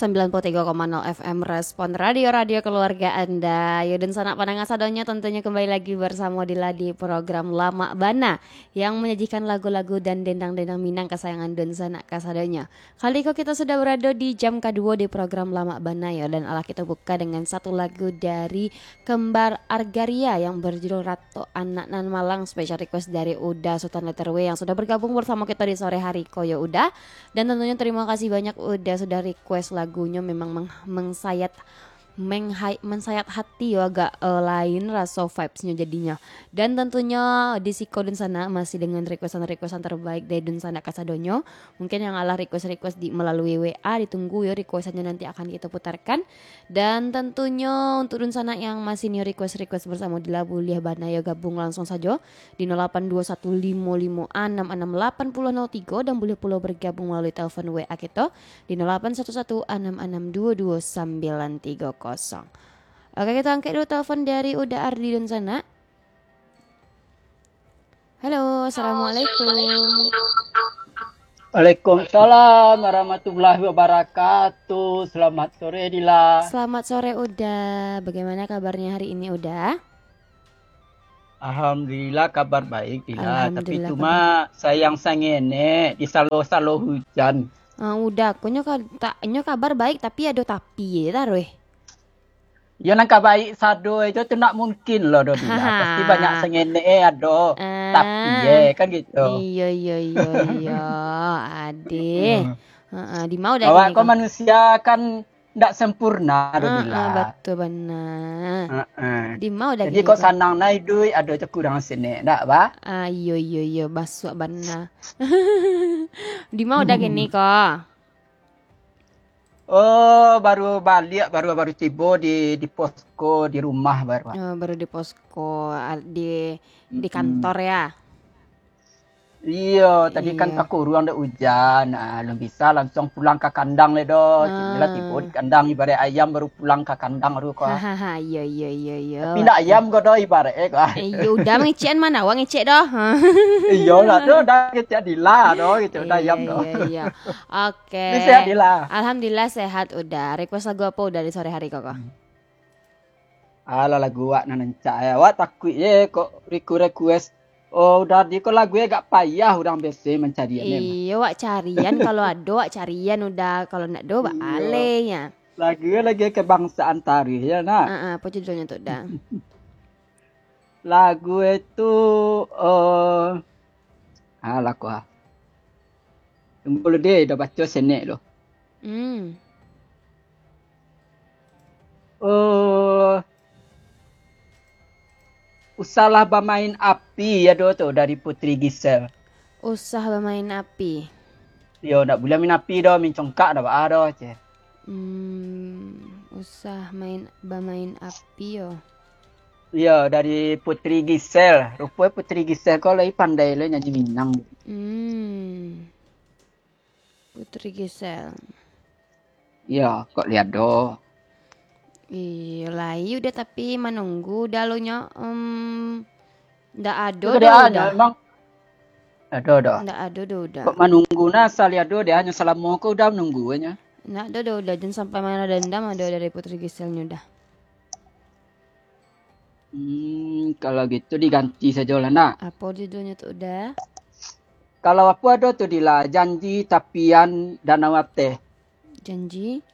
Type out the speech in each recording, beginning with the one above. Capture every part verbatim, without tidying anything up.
sembilan puluh tiga koma nol F M Respon Radio, radio keluarga Anda. Yo, dunsanak pandanga sadonyo, tentunyo kembali lagi bersamo Dila di program Lamak Bana yang menyajikan lagu-lagu dan dendang-dendang Minang kasayangan dunsanak kasadonyo. Kali ko kito sudah berado di jam kaduo di program Lamak Bana yo, dan alah kito buka dengan satu lagu dari Kembar Argaria yang berjudul Rato Anak Nan Malang, special request dari Uda Sutan Letter W yang sudah bergabung bersamo kito di sore hari ko yo, Uda. Dan tentunyo terima kasih banyak Uda sudah request lagunyo, memang meng-, mengsayat menghai-, mensayat hati yo, agak, eh, lain raso vibes-nyo jadinyo. Dan tentunyo di siko dunsanak masih dengan requestan-requestan terbaik dari dunsanak kasadonyo. Mungkin yang alah request-request di, melalui W A, ditunggu yo requestannyo, nanti akan kito putarkan. Dan tentunyo untuk dunsanak yang masih nio request-request bersamo Dila, buliah bana yo gabung langsung sajo di nol lapan dua satu limo limo anam anam lapan puluh nol tigo, dan buliah pulo bergabung melalui telepon W A kito di nol lapan satu satu anam anam dua dua sambilan tigo kosong. Oke, kito angkek dulu telepon dari Uda Ardi dunsanak. Halo, assalamualaikum. Waalaikumsalam warahmatullahi wabarakatuh. Selamat sore, Dila. Selamat sore, Uda. Bagaimana kabarnya hari ini, Uda? Alhamdulillah, kabar baik, Dila. Tapi Alhamdulillah, cuma kabar. Sayang sangenek, disalo-salo hujan. Ah, Uda, ko nyo ka-, tak, nyo kabar baik, tapi ado tapi e taruih. Yo, nan ka baik sado itu tu ndak mungkin lo, do, Dila. Pasti banyak sangenek e ado. Ah. Tapi e, kan gitu. Iyo, iyo, iyo, iyo. Adeh. Hmm. Heeh, di ma Uda kini ko? Awak ko manusia kan ndak sempurna, do, Dila. Heeh, batua bana. Heeh. Di ma Uda kini ko? Jadi ko sanang na iduik, ado cakudang senek, ndak, ba? Ah, iyo, iyo, iyo, basuak bana. Di ma Uda kini ko? Oh, baru baliak, baru, baru tibo di, di posko, di rumah baru. Oh, baru di posko, al-, di, di kantor ya? Iyo, tadi kan takuruang dek ujan. Ah, alun bisa langsung pulang ka kandang le doh. Cik Dila tibo di kandang, ibarat ayam baru pulang ka kandang tu ko. Hahaha, iyo, iyo, iyo, iyo. Tapi ndak ayam ko doh ibarat e ko. Eh, iyo, Uda mangecek mano, awak ngecek doh. Iyo lah tu, Uda ngecek Dila doh gitu, Uda ayam doh. Iyo, iyo, iyo. Oke. Ni sehat, Dila? Alhamdulillah sehat, Uda. Request lagu apo Uda di sore hari ko, ko? Hmm. Alah, lagu awak nan rancak e. Awak takuik je kok request-request. Oh, Uda di ko lagu e agak payah urang biaso mancari e. Iyo, awak carian, kalau ado awak carian, Uda. Kalau ndak ado, iyo, baaleh nyo. Lagu e lagu kebangsaan taruih yo, nak. Heeh, apo judulnyo tu, Uda? Lagu e tu, eh, alah ko ah. Tunggu lu deh, dah baco senek tu. Hmm. Eh, Usahlah Bamain Api, ado tu dari Putri Gisel. Usah bamain api. Yo, ndak buliah main api doh, main congkak ndak baa doh, ceh. Hmm, usah main, bamain api yo. Iyo, dari Putri Gisel. Rupo Putri Gisel ko lai pandai lai nyanyi Minang. Hmm. Putri Gisel. Iyo, kok lai ado. Iyo, lai Uda, tapi manunggu Uda lo nyo, em, ndak ado doh, Uda. Emang ado, ado. Ndak ado doh, Uda. Kok manunggu, nah, asal lai ado, dek hanyo salamo ko Uda manunggu nyo. Ndak ado doh, Uda. Jan sampai marah dendam ado dari Putri Gisel nyo, Uda. Hmm, kalau gitu diganti sajolah, nak. Apo judulnyo tu, Uda? Kalau apo ado tu, Dila, Janji Tapian Danau Ateh. Janji?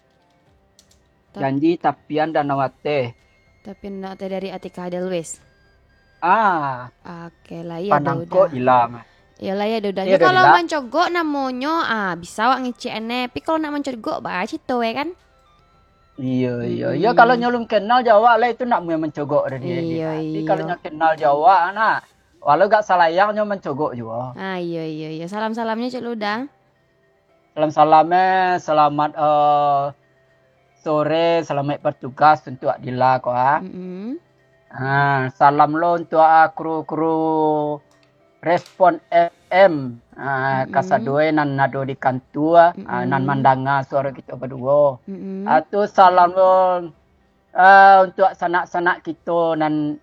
Tap- Janji Tapian Danau Ateh. Tapian Danau Ateh dari Atika Edelweiss. Ah. Oke, lai ado, Uda. Panangkok Dila mah. Yo, lai ado, Uda. Iyo, kalau mancogok namonyo, ah, bisa awak ngecek an e. Tapi kalau ndak mancogok, baa carito e kan? Iyo, iyo. Iyo, kalau nyo alun kenal jo awak lai, itu ndak mungkin mancogok dari dia. Iyo, iyo. Tapi kalau nyo kenal jo awak, nah, walau agak salayang nyo mancogok juo. Ah, iyo, iyo, iyo. Salam-salamnyo cek lu, Uda. Salam-salam, eh, selamat, eh, sore, selamat bertugas untuk Dila ko, ah. Mm-mm. Ah, salam lo untuk, ah, kru-kru Respon F M, ah, kasadonyo nan ado di kantua, ah, nan mandanga suaro kito baduo. Mm-mm. Ah, tu salam lo, ah, untuk sanak-sanak kito nan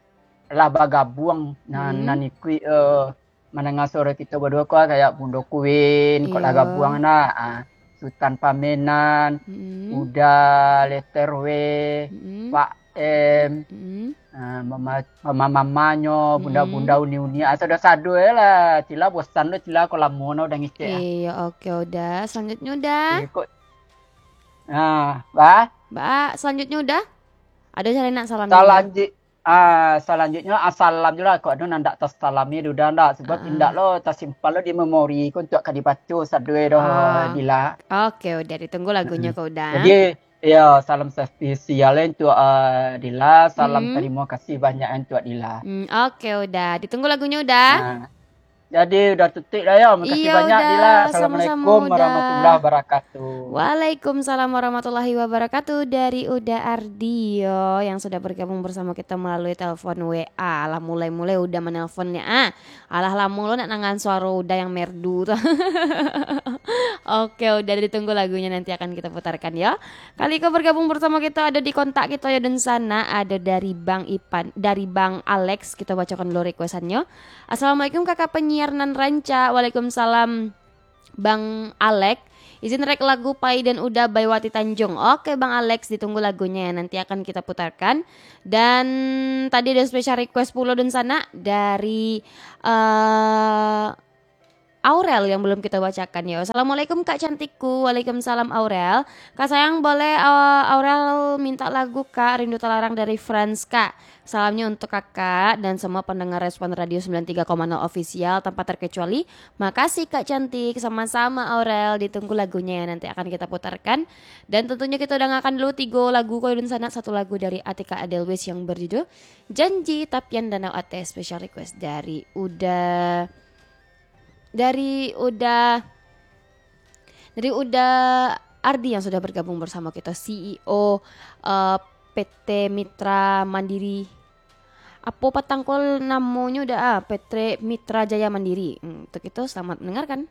lah bagabuang, nan, nan ikuik, eh, mandanga suaro kito baduo ko, kayak Bundo Queen, kok lah gabuang nah. Ah. Sutan Pamenan, Mm-mm. Uda, Letter W, Mm-mm. Pak M, Mm-mm. ah, mama-, mama-mamanyo, Mm-mm. bunda-bunda uni-uni, ah, sado-sado lah. Cila bosan lo, cila ko lamo nah Uda ngecek, ah. Iyo, oke, Uda. Selanjutnya Uda. Eh, kok, ah, bah? Ba, selanjutnya Uda. Ado cari nak salam Uda? Salanjut-, ah, salanjutnyo, ah, salam juo lah. Kok ado nan ndak tasalami Uda ndak? Sebab Ah. indak lo tasimpan lo di memori ko untuak ka dibaco sado doh, Ah. Dila. Oke, Uda, ditunggu lagunyo Mm-mm. ko Uda. Jadi, iyo, salam spesial untuak, ah, Dila. Salam Mm. tarimo kasih banyak untuak Dila. Mm, oke, Uda. Ditunggu lagunyo Uda. Ah. Jadi, Uda tutuik dah yo. Makasih Iyo, banyak, Uda. Dila. Sama-sama, Assalamualaikum Uda. warahmatullahi wabarakatuh. Waalaikumsalam warahmatullahi wabarakatuh. Dari Uda Ardi yo, yang sudah bergabung bersama kita melalui telepon W A. Alah, mulai-mulai Uda menelpon ni, ah. Alah, lamo lo nak nangan suaro Uda yang merdu tu. Oke, Uda, ditunggu lagunya, nanti akan kita putarkan yo. Kali ko bergabung bersama kita ado di kontak kita yo, dunsanak, ado dari Bang Ipan, dari Bang Alex, kita bacakan dulu requestannyo. "Assalamualaikum kakak penyiar nan rancak." Waalaikumsalam, Bang Alex. "Izin request lagu Pai dan Uda by Wati Tanjung." Oke, Bang Alex, ditunggu lagunya ya, nanti akan kita putarkan. Dan tadi ada special request pulo dunsanak dari, eh, Aurel yang belum kita bacakan yo. "Assalamualaikum Kak cantikku." Waalaikumsalam Aurel. "Kak sayang, boleh, eh, Aurel minta lagu Kak, Rindu Talarang dari Frans Kak. Salamnya untuk Kakak dan semua pendengar Respon Radio sembilan tiga koma nol Official tanpa terkecuali." Makasih Kak cantik. Sama-sama Aurel, ditunggu lagunya ya, nanti akan kita putarkan. Dan tentunya kita udah ngakan dulu tiga lagu ko dunsanak, satu lagu dari Atika Adelwis yang berjudul Janji Tapian Danau Ateh, special request dari Uda dari Uda, dari Uda Ardi yang sudah bergabung bersama kita, C E O, eh, P T Mitra Mandiri. Apo patang ko namonyo Uda, ah, P T Mitra Jaya Mandiri. Hmm, untuk itu, selamat mendengarkan.